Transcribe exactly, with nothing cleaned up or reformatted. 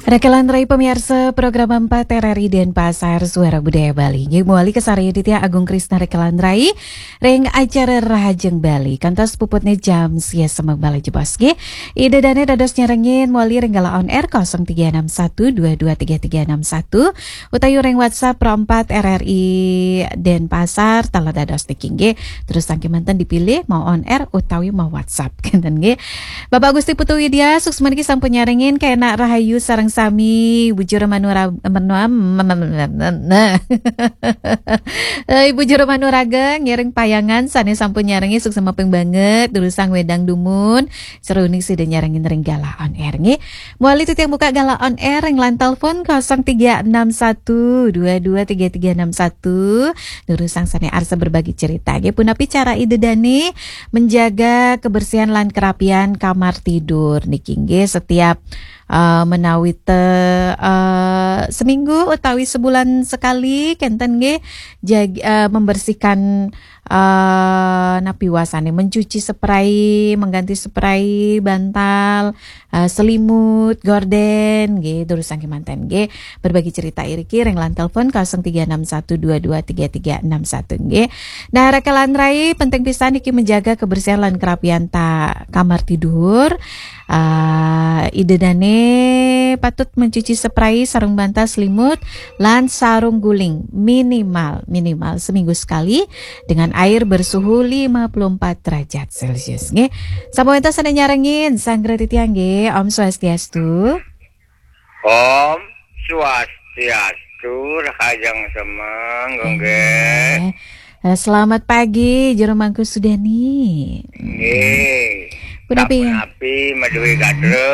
Rekelan rai pamiarsa program empat R R I Denpasar Suara Budaya Bali. Nggih, mawali kasarengin titiang Agung Krisna Rekelan rai ring acara Rahajeng Bali. Kantos puputne jam sia semeng malih jebos nggih. Ida dane dados nyarengin mawali ring galah on air kosong tiga enam satu dua dua tiga tiga enam satu utawi ring WhatsApp Pro empat R R I Denpasar, taler dados niki nggih. Terus saking manten dipilih mau on air utawi mau WhatsApp kenten nggih. Bapak Gusti Putu Widya, suksma niki sampun nyarengin, kenak rahayu sareng sami, Ibu Juru Manura-, Manua-, nah. Eh, Ibu Juru Manuraga, ngiring payangan, sane sampun nyarengin, suksma ping banget, durusang wedang dumun, seruning sida nyarengin ring galah on air nggih. Mawali titiang buka galah on air ring line telepon kosong tiga enam satu dua dua tiga tiga enam satu, durusang sane arsa berbagi cerita nggih. Punapi cara ida dane menjaga kebersihan lan kerapian kamar tidur niki nggih, setiap, eh, menawi te, eh, seminggu utawi sebulan sekali kenten nggih, jag-, eh, membersihkan, eh, napi wasane, mencuci spray, mengganti spray, bantal, eh, selimut, gorden nggih, durusang kemanten nggih. Berbagi cerita iriki ring line telepon kosong tiga enam satu dua dua tiga tiga enam satu nggih. Nah, rekelan rai penting pisan niki menjaga kebersihan lan kerapian ta kamar tidur. Ah, ida dane patut mencuci spray, sarung bantal, selimut, lan sarung guling minimal, minimal seminggu sekali dengan air bersuhu lima puluh empat derajat Celcius nggih. Sampun wenten sane nyarengin, sanggra titiang nggih. Om Swastiastu. Om Swastiastu, rahajeng semeng, nggih. Eh, selamat pagi, Jero Mangku Sudani. Nggih. Punapi? Sapunapi, Madwi Gadreng.